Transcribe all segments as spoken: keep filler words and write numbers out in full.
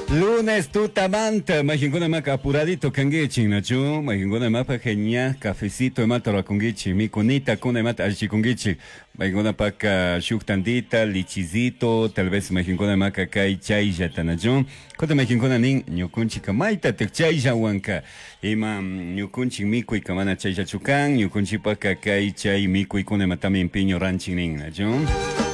Lunes tutamanta, majinkuna maka apuradito kangichi, nachu, majinkuna mapa genia, cafecito imata rakungichi, mikunita kuna imata allichikungichi, majinkuna paka shuk tandita, lichizito, tal vez majinkuna maka kay chayllata, nachu, kota majinkuna nin, ñukunchika mayta tek chaylla wanka, ima ñukunchik mikuy mana chayllachu kan, ñukunchipaka kay chay mikuykuna imatami empeño ranchin nin, nachu.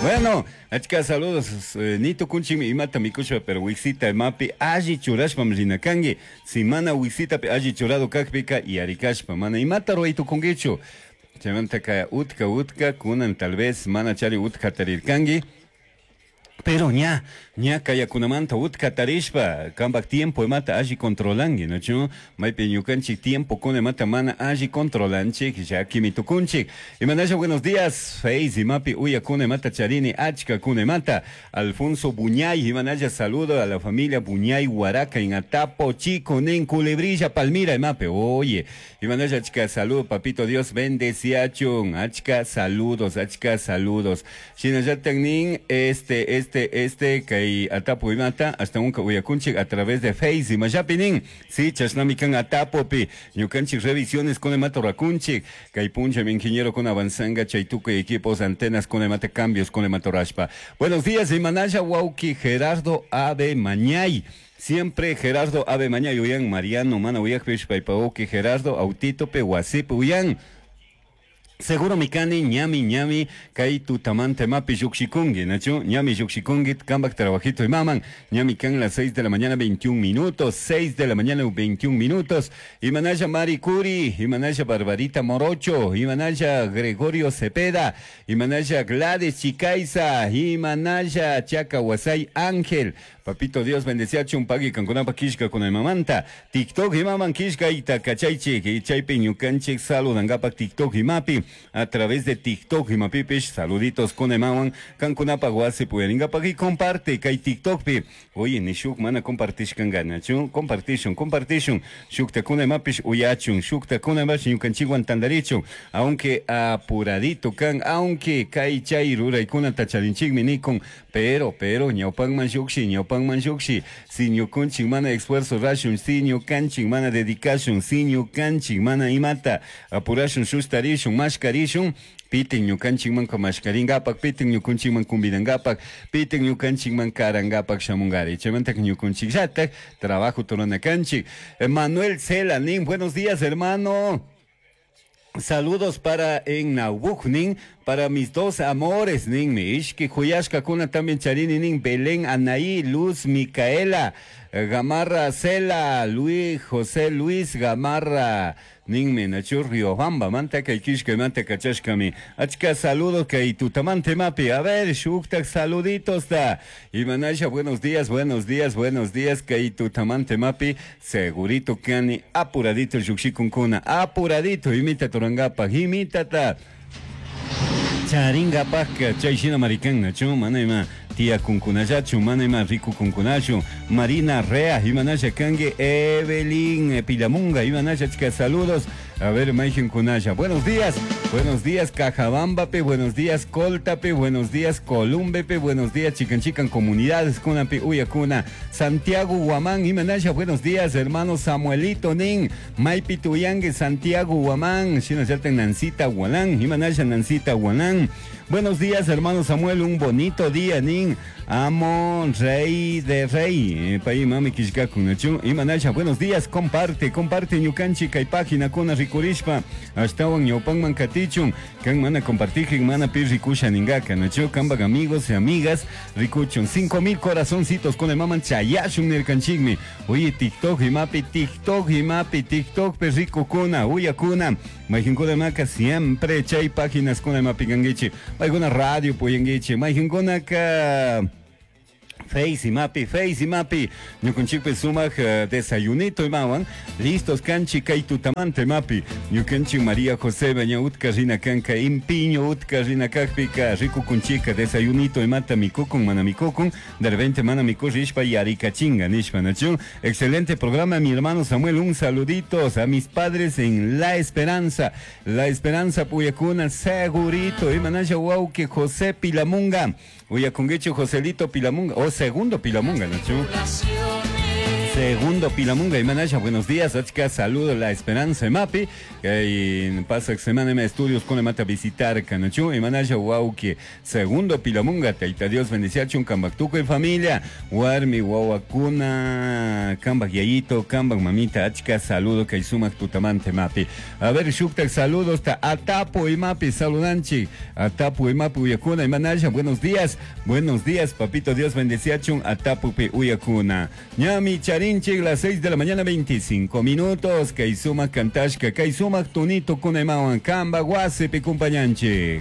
Bueno, achka saludos, eh, nito kunchimi imata mikushpa, pero wiksita imapi alli churashpam rina kanki, si mana wiksitapi alli churado kakpika yarikashpa, mana imata ruwaytukunkichu, chaymantaka utka utka kunan tal vez mana chari utka tarirkanki, pero ña, ña kayakunamanta utka tarishpa, kampak tiempo imata alli controlanki, nachu? Maypi ñukanchik tiempo kuna imata mana alli controlanchik, llakimi tukunchik. Imanasha, buenos días, Face imapi uyakuna imata charini, achka kuna imata, Alfonso Buñay, imanasha, saludo a la familia Buñay Huaraca en Atapo, Chico, nin, Culebrilla, Palmira, imapi, oye, imanasha, achka, saludo, papito Dios, bendeciachun, achka, saludos, achka, saludos. Shinallatan nin, este, este, este, kay Atapo imata, hasta unka uyakunchik a través de Face, imashapinin, sí, chashnami kan Atapopi, ñukanchik revisiones con imata rakunchik, kay puncha mi ingeniero con avanzanga, chaytuco y equipos, antenas con imata, cambios con imata rashpa. Buenos días, imanasha, wauki, Gerardo Ave Mañay. Siempre Gerardo Ave Mañay, uyan, Mariano, mana, uyakpish, paipauki, Gerardo, Autito, pe, wasip, uyan. Seguro mikani, ñami, ñami, kay tutamante mapi yukshikungi, nachu, ñami yukshikungi, kambak trabajito y maman, ñami kan las seis de la mañana veintiún minutos, seis de la mañana veintiún minutos, imanaya Mari Curi, imanaya Barbarita Morocho, imanaya Gregorio Cepeda, imanaya Gladys Chicaiza, imanaya Chaca Huasay Ángel, papito Dios bendecía chumpagui kankunapa kishka con mamanta, TikTok y maman kishka y takachaychik, y chaypi ñukanchik saludangapak TikTok y mapi, a través de TikTok y mapipish, saluditos con emawan, kankunapa guasi puyaringapa y comparte, kay TikTok pi, oye, nishuk mana compartish kangana, chu, compartishun, compartishun, shukta kuna emapish uyachun, shukta kuna emapish ñukanchikwan tandarichun, aunque apuradito kan, aunque kay chay ruraykuna tacharinchikmi nikun, pero, pero, ñawpanman shukshi, ñawpanman shukshi, si ñukunchik mana esfuerzo rashun, si ñukanchik mana dedicación, si ñukanchik mana imata, apurashun, sustarishun, mashkarishun, pitin ñukanchikman mashkaringapak, pitin ñukunchikman kumbidangapak, pitin ñukanchikman karangapak shamungari. Chaymanta ñukunchikllatak, trabajo turanakanchik. Manuel Cela, nin, buenos días, hermano. Saludos para en Naubuk, nin, para mis dos amores, nin, mi ishki huyashka kuna también charini, nin, Belén, Anaí, Luz, Micaela, Gamarra, Cela, Luis, José Luis Gamarra, nin, me nachu Riobamba, manta kay kishka, manta kachashkami. Achka saludos kay tutamante mapi, a ver, shuktak saluditos da. Imanasha, buenos días, buenos días, buenos días, kay tutamante mapi, segurito kani, apuradito yukshikunkuna, apuradito, imita turangapa, imitata. Charinga paka, chay shina maricán, nachu, mana ima, tía kunkunayachu, mana ima, rico kunkunachu, Marina Rea, imanasha kangue, Evelyn Pilamunga, imanasha, chica, saludos. A ver, Maijen Kunaya, buenos días, buenos días, Cajabambape, buenos días, Coltape, buenos días, Columbepe, buenos días, Chican Chican, comunidades, Kunape, Uyacuna, Santiago Huamán, Imanasha, buenos días, hermano Samuelito Nin, Maipi Tuyangue, Santiago Huamán, Shina Yalten, Nancita Hualán, Imanasha, Nancita Hualán. Buenos días, hermano Samuel, un bonito día, Nin. Amo, rey de rey. Paí, mami, kishka, kunachu. Imanasha, buenos días, comparte, comparte, ñukanchi, kay página, kuna rikurishpa. Ashtawan, ñawpanman katichun. Kan mana compartijin, mana pi rikusha ningaka, nachu, kambak amigos y amigas, rikuchun. Cinco mil corazoncitos con el maman chayashun nirkanchikmi. Oye, TikTok, imapi, TikTok, imapi, TikTok, perrico kuna, uya kuna. Majinkuna maka siempre chay páginas kuna imapi gangichi. Majinkuna radio puyangichi. Majinkuna ka Face y mapi, face y mapi. Ñukanchikpi sumaq uh, desayunito imawan. Listos kanchi kay tutamante mapi. Ñukanchik María José baña utka rina kanka impiño utka rina kakpika rikukunchika desayunito imata mikukun mana mikukun. De repente mana mikurishpa yarikachinga nishpa nachu. Excelente programa mi hermano Samuel. Un saluditos a mis padres en La Esperanza. La Esperanza puyakuna segurito. Imanasha wauki José Pilamunga. Uyakunguichu Joselito Pilamunga, o segundo Pilamunga, ¿no? Segundo Pilamunga y Manasha, buenos días, achka saludo la Esperanza Mapi, en pasa semana en estudios con mata visitar Canachu y Manasha wauki Segundo Pilamunga, taita Dios bendiciachun kambaktuco y familia, warmi wawakuna, kambak yayito, kambak mamita, achka saludo kay sumak tutamante mapi. A ver, shuktak saludos ta atapo y mapi, saludanchi, atapo y mapi uyakuna y Manasha, buenos días, buenos días, papito Dios bendiciachun, atapo pe uyakuna. Ñami charinchi, las seis de la mañana, veinticinco minutos, kay sumak kantashka, kay sumak tunito kunemawan, kamba wasipi kumpañanchi.